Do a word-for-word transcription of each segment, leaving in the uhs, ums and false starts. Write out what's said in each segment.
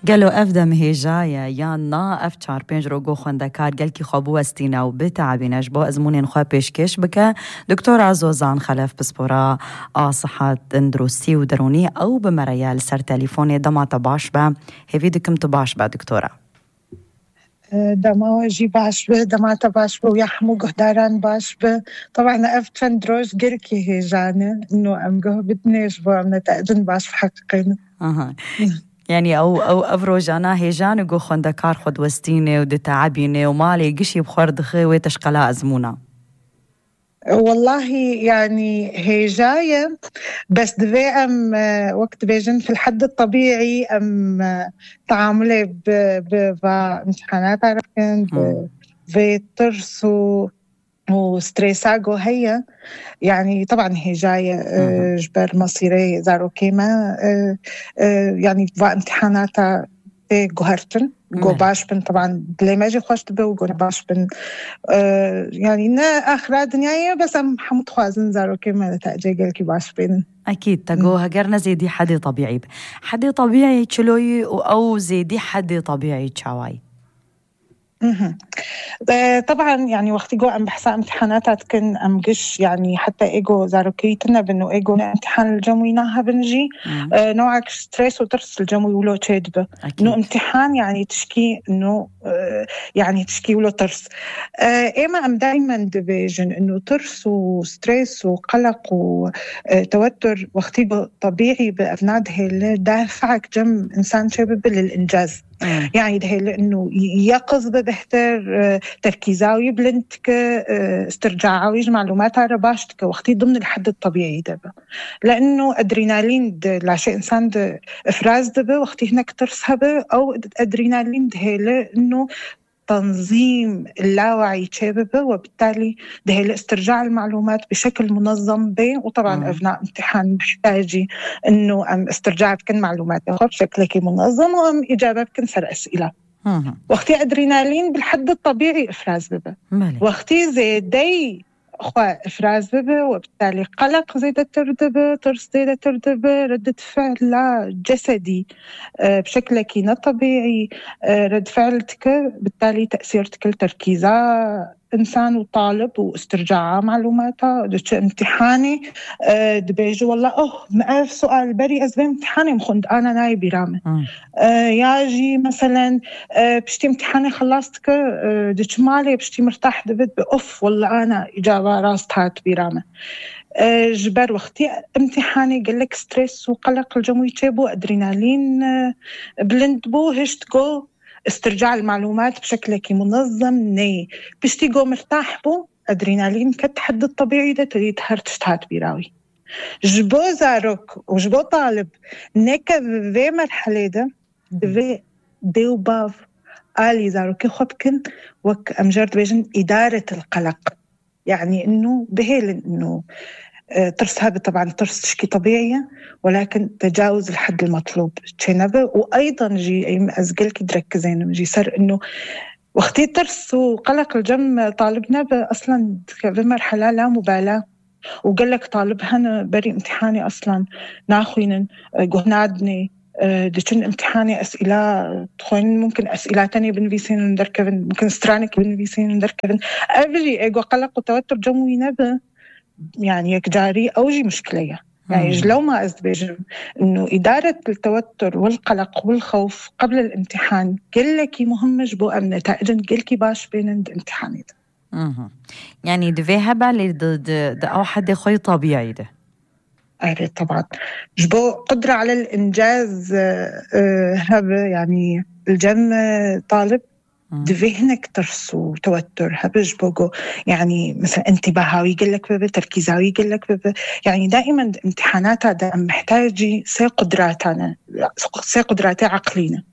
قالوا أفدم هيجايا يانا أفتشار بينجرو جو خواندكار قال كي خابو استينا وبتعبي نجبو أزموني نخوا بيشكش بك دكتورة زوزان خلف بسبورا آه صحة اندروسي ودروني أو بمريال سر تليفوني دما تباشبة هفيدكم تباشبة دكتورة دما وجي باشبة دما تباشبة ويحمو قهداران باشبة طبعا أفتشان دروش قركي هيجانا إنه أم قه بدنيش بو أم نتأجن باش بحققين أها يعني أو أو أفروجانا هيجان وجو خواندكار خود وستيني ودتعبيني ومالي قشي بخور دخي ويتشقلا أزمونا والله يعني هي جاية بس دفي أم وقت بيجن في الحد الطبيعي أم تعاملي بامتحانات عرفين في ترس وستريساغو هي يعني طبعا هي جاية جبر مصيري زارو كيما يعني بامتحاناتها جوهرتن جو باشبن طبعا بلي ما جي خوش تبو جو باشبن آه يعني نا آخر دنيايا بس أم حمد خوازن زارو كيما نتاجي قلكي باشبن أكيد تقو هجرنا زيدي حدي طبيعي حدي طبيعي تشلوي أو زيدي حدي طبيعي تشاواي طبعا يعني وقت جو أم بحسا امتحاناتات كن أم قش يعني حتى إيجو زاروكيتنا بأنه إيجو امتحان الجموي ناها بنجي آه نوعك ستريس وترس الجموي ولو تشيدبه إنه امتحان يعني تشكي إنه آه يعني تشكي ولو ترس آه إيما أم دايما دبيجن إنه ترس وستريس وقلق وتوتر وقت طبيعي بأفناد هيل دافعك جم إنسان شباب للإنجاز مم. يعني ده لأنه يقظ ببهتر تركيزاوي بلنتك استرجاعاوي معلومات على باشتك وقتي ضمن الحد الطبيعي دبا لأنه أدرينالين لا شيء إنسان ده إفراز دبا وقتي هناك ترسها أو أدرينالين ده لأنه تنظيم اللاوعي تشابه وبالتالي ده استرجاع المعلومات بشكل منظم به وطبعا آه. أثناء امتحان محتاجي إنه أم استرجاع بكن معلومات بشكل منظم وأم إجابة بكن سر أسئلة آه. وقتي أدرينالين بالحد الطبيعي إفراز ببه وقتي زيدي أخوة إفراز ببه وبالتالي قلق زيادة تردبه ترس زيادة تردبه ردة فعل لا جسدي بشكل كينا طبيعي رد فعلتك بالتالي تأثيرتك التركيزة إنسان وطالب واسترجاع معلوماته دش امتحاني أه دبيجو والله أوه مألف سؤال بري أزبي امتحاني مخند أنا ناي برامة أه ياجي مثلا أه بشتي امتحاني خلصتك أه دش مالي بشتي مرتاح دبت بأوف والله أنا إجابة راستهات برامة أه جبر وقتي امتحاني قلك ستريس وقلق الجموي تشيبو أدرينالين أه بلند بو هشت جو استرجاع المعلومات بشكل منظم ني بشتي جو مرتاح بو أدرينالين كتحد الطبيعي ده تريد هرتشتات بيراوي جبو زاروك وجبو طالب نيكا في مرحلة ده دفي ديو باف آلي زاروكي خبكن وك أمجرد بيجن إدارة القلق يعني إنه بهيل إنه ترس هذا طبعا ترس تشكي طبيعية ولكن تجاوز الحد المطلوب تشينبه وأيضا جي أي أزقلك تركزين جي صار إنه وقتي ترس وقلق الجم طالبنا أصلا بمرحلة لا مبالاة وقال لك طالبها بري امتحاني أصلا ناخوين جهنادني دشن امتحاني أسئلة تخوين ممكن أسئلة تانية بنفيسين ندركبن ممكن سترانك بنفيسين ندركبن أبجي إيجو قلق وتوتر جموي نبه يعني يكجاري أوجي مشكلة يعني لو ما أزبيجم إنه إدارة التوتر والقلق والخوف قبل الامتحان كلكي مهم جبو أم نتائجن كلكي باش بين الامتحان ده يعني دفي هبا لدى أو حد خوي طبيعي ده أريد طبعا جبو قدرة على الإنجاز هبا يعني الجم طالب دفهنك ترس وتوتر هبج بوجو يعني مثلا انتباهاوي يقلك ببه تركيزاوي يقلك ببه يعني دائما امتحاناتها دا محتاجي سي قدراتنا سي قدرات عقلينا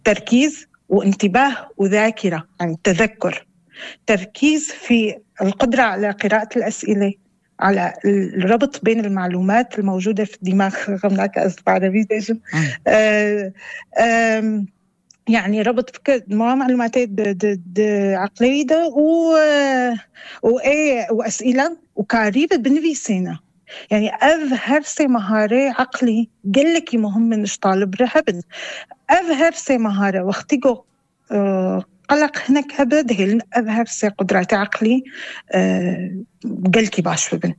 تركيز وانتباه وذاكرة يعني تذكر تركيز في القدرة على قراءة الأسئلة على الربط بين المعلومات الموجودة في الدماغ غمناك أصبع ربيزيشن يعني ربط فكرة معلومات عقلية و وإيه وأسئلة وكاريبة بنفيسينا يعني أظهر سي مهارة عقلي قل لك مهم منش طالب رهبن أظهر سي مهارة واختيقو أه قلق هناك هبد هيلن أظهر سي قدرات عقلي أه قلكي باش ببن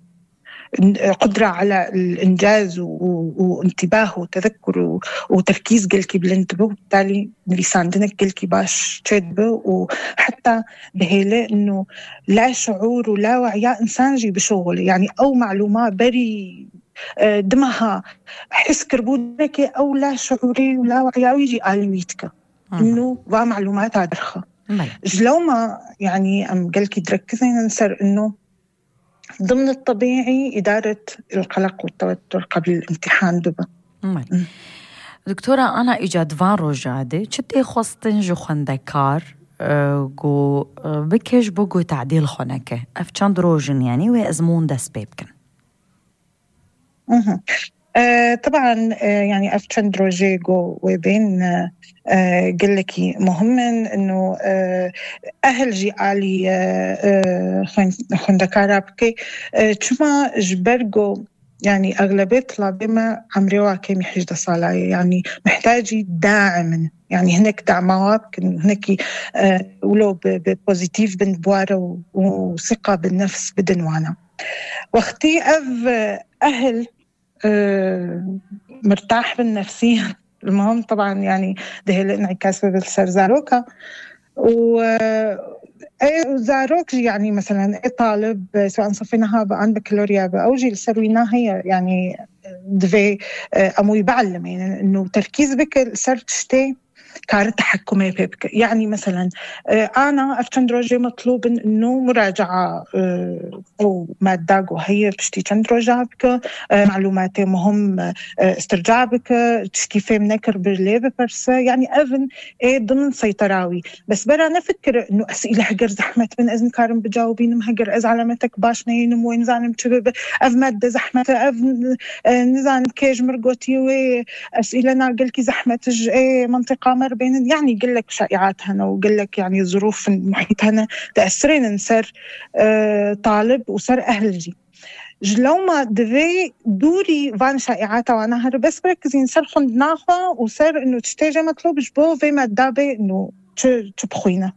قدرة على الإنجاز وانتباه وتذكر وتركيز قلكي بالانتباه وبالتالي لسان دنك قلكي باش تشدبه وحتى بهيلة إنه لا شعور ولا وعي إنسان جي بشغل يعني أو معلومات بري دمها حس كربونك أو لا شعوري ولا وعي ويجي آلويتك إنه با معلومات عدرخة جلو ما يعني أم قلكي تركزين ننسر إنه ضمن الطبيعي إدارة القلق والتوتر قبل الامتحان دبا. دكتورة أنا إجاد فارو جادي شتي خواستن جو خندكار جو بكيش بوجو تعديل خونك أفشان روجن يعني ويأزمون داس بيبكن. آه طبعا آه يعني أفشان دروجيجو وبين آه قل لكي مهم إنه آه أهل جي آلي آه خندكارا بكي آه شما جبرجو يعني أغلبية طلابنا عمريوا كم يحجد صلاة يعني محتاجي داعم يعني هناك دعمات هناك آه ولو ببوزيتيف بنبوارة وثقة بالنفس بدنوانا واختي أف أهل أه مرتاح بالنفسية المهم طبعا يعني ده الانعكاس بالسرزاروكا و زاروك يعني مثلا طالب سواء صفيناها عن بكالوريا أو جيل سرويناها هي يعني دفي أمو يبعلم يعني إنه تركيز بك صرت شتي كار تحكمي بك يعني مثلا أنا أفتندروجي مطلوب إنه مراجعة أو مادة وهي بشتي تندروجا بك معلوماتي مهم استرجاع بك تشكيفي منكر برليب برس يعني أذن إيه ضمن سيطراوي بس برا نفكر إنه أسئلة هجر زحمة من أذن كارم بجاوبين مهجر أز علامتك باش نين وين زانم تشبب أذ مادة زحمة أذ نزانم كيج مرقوتي وأسئلة ناقل كي زحمة إيه منطقة مر بين يعني يقول لك شائعات هنا ويقول لك يعني ظروف المحيط هنا تأثرين نصير آه طالب وصار أهل جي جلو ما دفي دوري فان شائعات وانا هر بس بركزين صار خندناها وصار إنه تشتاجي مطلوب جبو في مادة إنه تبخينا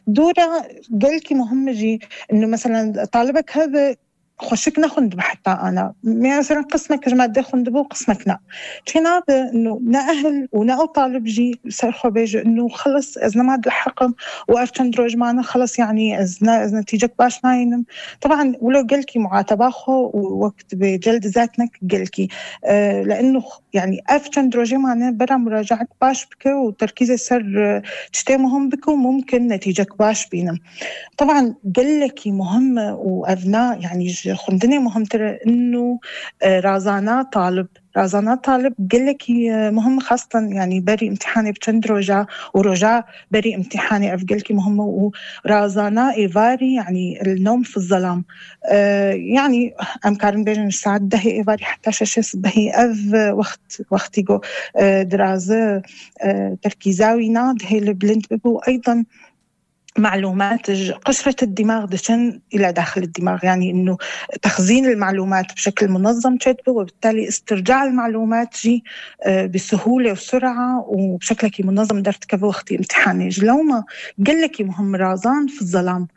دورة قلكي مهم جي إنه مثلا طالبك هذا خوشك نخند حتى أنا مثلا قسمك جماعة خندبو قسمك نا تينا إنه نأهل ونأو طالب جي سرخوا بيجي إنه خلص إذا ما لحقم وأفتن دروج معنا خلص يعني إذا إذا نتيجك باش ناينم طبعا ولو قلكي معاتباخو ووقت بجلد ذاتنك قلكي آه لأنه يعني أفتن دروجي معنا برا مراجعة باش بك وتركيز سر تشتي مهم بك وممكن نتيجك باش بينم طبعا قلكي مهمة وأبناء يعني خندني مهم ترى إنه رازانا طالب رازانا طالب قلك مهم خاصة يعني بري امتحاني بچند رجا ورجا بري امتحاني أفقلك مهم ورازانا إيفاري يعني النوم في الظلام آه يعني أم كارن بيجن الساعة دهي إيفاري حتى شاشس بهي أذ وقت وقتيقو آه درازة آه تركيزاوي ناد هي البلند ببو أيضا معلومات قشرة الدماغ دشن إلى داخل الدماغ يعني إنه تخزين المعلومات بشكل منظم تشتبه وبالتالي استرجاع المعلومات جي بسهولة وسرعة وبشكل كي منظم درت كبه وقت امتحاني جلو ما قل لك مهم رازان في الظلام